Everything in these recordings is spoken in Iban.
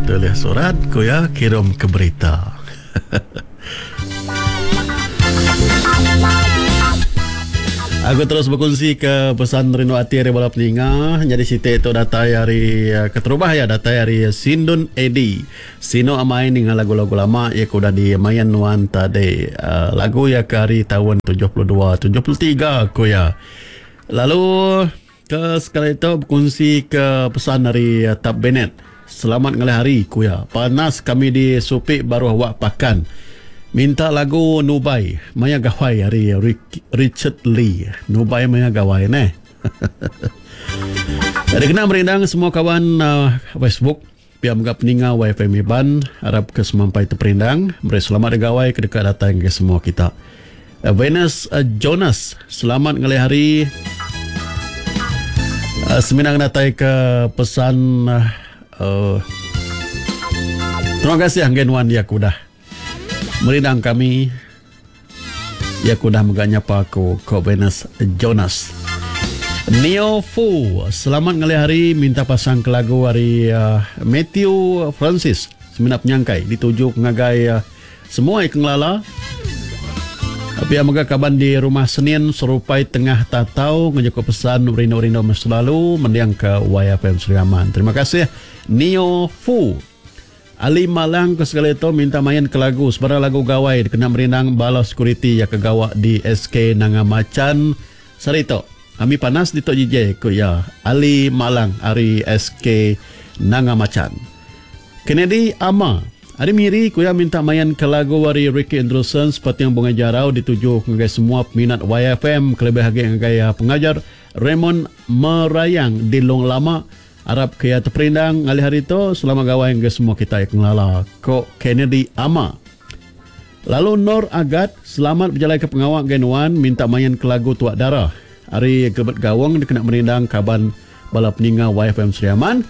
Tulis surat ku iya kirum ke berita. Aku terus bekunsi ke pesan rindu ati ari bala peninga nyadi siti tu datai ari eh, keterubah iya datai ari Sindun Edi. Sinu amai ninga lagu-lagu lama iya ke udah dimain nuan tadi. Eh, lagu iya ke ari taun 72 73 ku iya. Lalu Ke sekali tu bekunsi ke pesan ari Tab Bennett. Selamat ngalih hari, ku iya. Panas kami di Supi baruh wak Pakan. Minta lagu Nubai maya gawai ari Richard Lee. Nubai maya gawai neh. Dikena merindang semua kawan Facebook pia mega peninga YFM Iban arap ke semampai teperindang meri selamat gawai ke deka datai ngagai semua kita. Venus Jonas selamat ngalih hari. Semina ngenatai ke pesan uh, terima kasih ngagai nuan ya ke udah merindang kami. Iya ke udah mega nyapa aku, ko Venus Jonas. Neo Fu, selamat ngalih hari minta pasang ke lagu ari uh, Matthew Francis semina penyangkai dituju ngagai uh, semua ke ngelala. Pia mega kaban di Rumah Senin Serupai Tengah Tatau ngejuku pesan rindu-rindu meh selalu mending ke YFM Sri Aman. Terima kasih Neo Fu. Ali Malang ke sekali tu minta main ke lagu sebarang lagu gawai dikena merindang bala sekuriti iya ke gawa di SK Nanga Machan sehari tu. Ami panas ditu JJ, ku iya. Ali Malang ari SK Nanga Machan. Kennedy Ama ari Miri ku iya minta main ke lagu ari Ricky Andrewson Sepating Bungai Jarau dituju ngagai semua peminat YFM kelebih agi ngagai pengajar Raymond Merayang di Long Lama. Arap ke iya teperindang ngalih hari tu, selamat gawai ngagai semua kitai ke ngelala, ko Kennedy Ama. Lalu Nor Agat, selamat bejalai ke pengawa ngagai nuan minta main ke lagu Tuak Dara ari Gilbert Gawong dikena merindang kaban bala peninga YFM Sri Aman.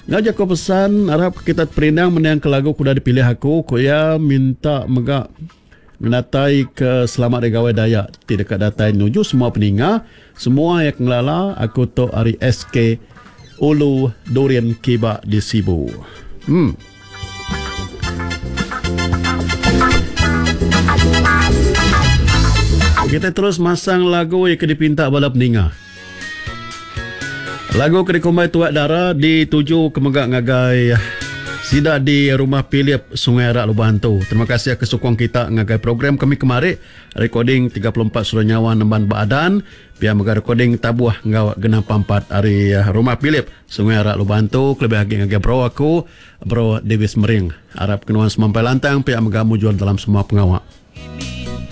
Enggau jaku pesan arap ke kita teperindang mending ke lagu ke udah dipilih aku, ku iya minta mega Ngenatai ke selamat Hari Gawai Dayak ti deka datai nuju semua peninga, semua iya ke ngelala aku tu ari SK Ulu Durin Kiba di Sibu. Em. Kita terus masang lagu iya ke dipinta bala peninga. Lagu ke dikumbai Tuak Dara dituju ke mega ngagai sida di Rumah Philip Sungai Arak Lubah Antu. Terima kasih ke sukung kita ngagai program kami kemari recording 34 Suara Nyawa Nemban Ba Adan pia mega recording Tabuh enggau Genang Pampat ari Rumah Philip Sungai Arak Lubah Antu kelebih agi ngagai bro aku bro Davis Mering. Arap ke nuan semampai lantang pia mega mujur dalam semua pengawa.